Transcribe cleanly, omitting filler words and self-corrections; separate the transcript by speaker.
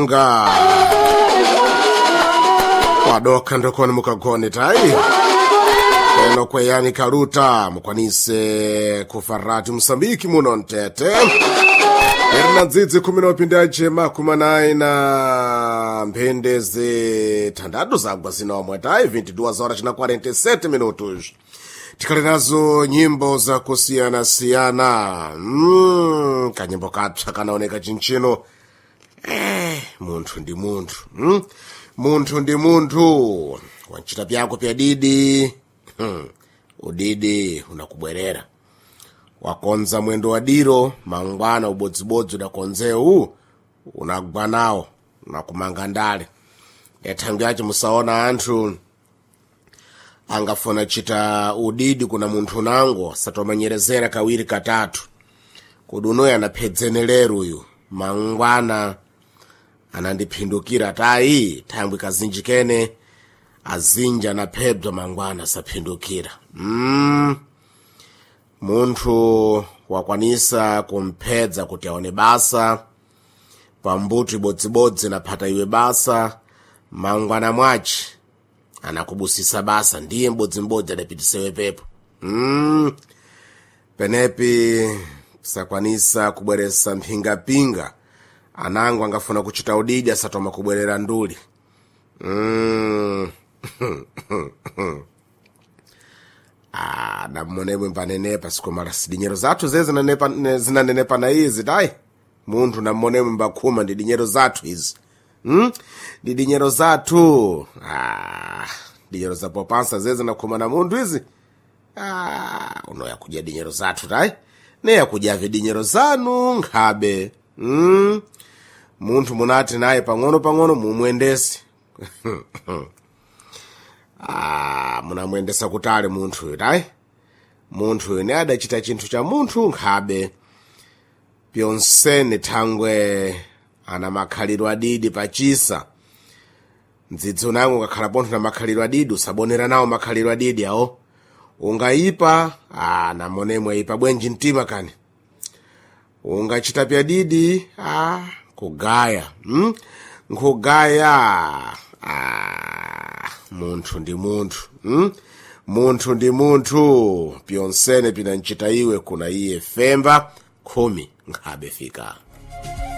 Speaker 1: Nga kwadoka ndokoni mukagone tayi eno kweyani kaluta mukwanise kufarati Mosambiki muno mtete erina ndzidzi khumi na upindaje makumi anayi na mphindi zithandatu zagwa zinomwe tayi 22 horas na 47 minutos. Tikhali nazo nyimbo zakusiyana-siyana. Kanyimbo kapsa kanaoneka chinchino. Munthu ndi munthu. Munthu ndi munthu, wanchita pyako pya didi. Udidi unakubwerera. Wakonza mwendo wa diro mangwana ubodzibodzi udakonzewu unagwa nawo unakumanga ndale. Ethangu yace musaona anthu angafuna chita udidi kuna munthu nango satomanyerezera kawiri katatu kodi unoyo anaphedzene uyu mangwana anandiphindukira tayi thangwi kazinji kene azinji anaphedzwa mangwana saphindukira. Munthu wakwanisa kumphedza kuti aone basa pambuto ibodzibodzi naphata iwe basa mangwana mwaci anakubusisa basa ndiye mbodzimbodzi adapitisewe pepo. Penepi sakwanisa kubweresa mphingapinga anango angafuna kuchita udidi asatoma kubwerera nduli. Ah, namuonemwe mpanenepa sikomala sidinyero zathu zeze zinanenepa na izi tayi munthu namuonemwe mbakhuma ndi dinyero zathu izi. Ndi dinyero zathu. Ah, dinyero za popansa zeze zinakhuma na munthu izi. Ah, unoya kudya dinyero zathu tayi neya kudya dinyero zanu nkhabe. Munthu munati naye pang'ono pang'ono mumwendese. Ah, munamwendesa kutali munthuyu tayi munthuyu ne adachita chinthu cha munthu nkhabe pyonsene thangwe ana makhalidwe adidi pachisa mdzidzi unango ukakhala pontho na makhalidwe adidi usabonera nawo makhalidwe adidi awo ungayipa ah, namonemwe ipa bwenji mtima kani ungachita pyadidi ah, kugaya. Nkugaya. Ah, munthu ndi munthu. Munthu ndi munthu pyonsene pinanchita iwe kuna iye femba khumi nkhabe fika.